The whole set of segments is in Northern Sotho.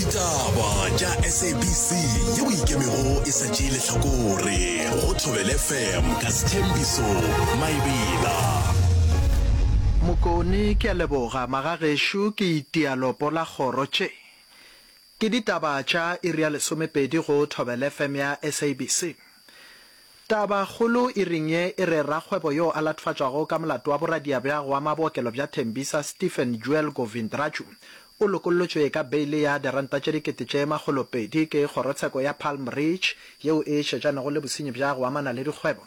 Ditaba tša SABC yeo e ikemego e sa tšee lehlakore go Thobela FM ka Sthembiso Maebela. Mokone, Ke a leboga magagešo ke itia lopo la kgoro tše. Ke ditaba tša iri ya lesomepedi go Thobela FM ya SABC. Taba kgolo iring ye e re rakgwebo yo a latofatšwago ka molato wa boradia bja go ama bookelo bja Tembisa Stephen Jewel Govindraju o lokollotšwe ka beile ya diranta tše 2,200 ke kgorotsheko ya Palm Ridge yeo e šetšanego le bosenyi bja go amana le dikgwebo.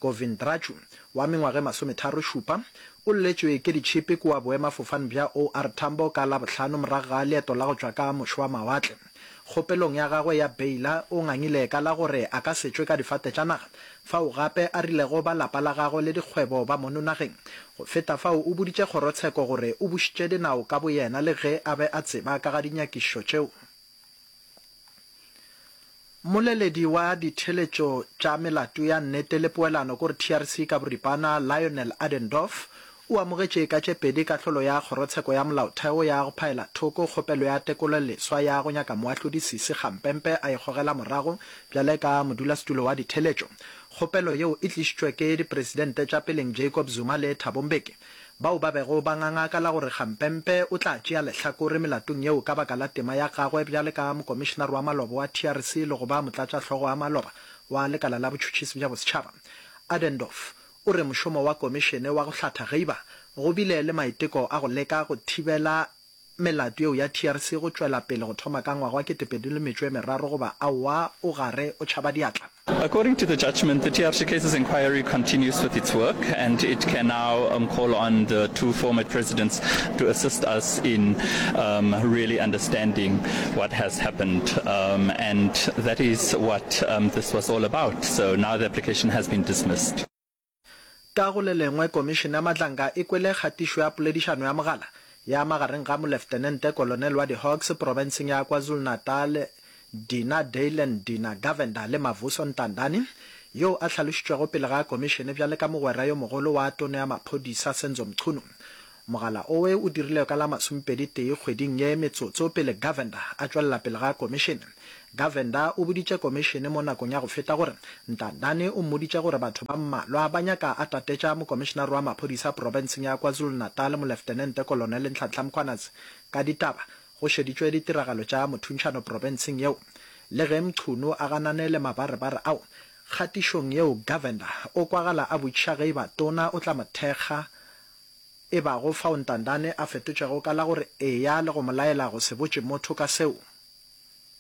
Govindraju, wa mengwaga e masometharošupa, o lletšwe ke ditšhipi kua boemafofane bja OR Tambo ka Labohlano morago ga leeto la go tšwa ka moše wa mawatle. Kgopelong ya gagwe ya beila, o ngangile ka la gore a ka se tšwe ka difate tša naga, fao gape a rilego ba lapa la gagwe le dikgwebo ba mono nageng. Go feta fao, o boditše kgorotsheko gore o bušitše dinao ka boyena le ge a be a tseba ka ga dinyakišišo tšeo. Mmoleledi wa ditheeletšo tša melato ya nnete le poelano kore TRC ka boripana, Lionel Adendorff, o amogetše ka tše pedi kahlolo ya Kgorotsheko ya Molaotheo ya go phaela thoko kgopelo ya tekololeswa ya go nyaka moahlodi Sisi Kgampempe a e gogela morago bjale ka modulasetulo wa ditheeletšo. Kgopelo yeo e tlišitšwe ke dipresidente tša peleng Jacob Zuma le Thabo Mbeki bao ba bego ba nganga ka la gore Kgampempe o tla tšea lehlakore melatong yeo ka baka la tema ya gagwe bjale ka mokomišenare wa maloba wa TRC le go ba motlatšahlogo wa maloba wa lekala la botšhotšhisi bja bosetšhaba. Adendorff o re mošomo wa komišene wa go hlatha geiba go bile le maiteko a go leka go thibela melato yeo ya TRC go tšwela pele go thoma ka ngwaga wa 2003 goba aowa o gare o tšhaba diatla. According to the judgment, the TRC cases inquiry continues with its work and it can now um, call on the two former presidents to assist us in um, really understanding what has happened. Um, and that is what um, this was all about. So now the application has been dismissed. Ka go le lengwe, Komišene ya Matlanka e kwele kgatišo ya poledišano ya mogala ya magareng ga Moleftenente Kolonel wa di-Hawks profenseng ya KwaZulu-Natal Dina Daylan Dina Govender le Mavuso Ntandane, yoo a hlalošitšwego pele ga komišene bjale ka mogwera yo mogolo wa Tona ya Maphodisa Senzo Mchunu. Mogala owe o dirilwe ka la masomepedi tee kgweding ye metsotso pele Govender a tšwelela pele ga komišene. Govender o boditše komišene mo nakong ya go feta gore Ntandane o mmoditše gore batho ba mmalwa ba nyaka a tatetša mokomišenare wa maphodisa profenseng ya KwaZulu-Natal Moleftenente Kolonele Nhlanhla Mkhwanazi ka ditaba go šeditšwe ditiragalo tša mothuntšhano profenseng yeo. Le ge Mchunu a ganane le mabarebare ao, kgatišong yeo Govender o kwagala a botšiša ge eba tona o tla mo thekga E bago fao Ntandane a fetotšego ka la gore eya le go mo laela go se botše motho ka seo.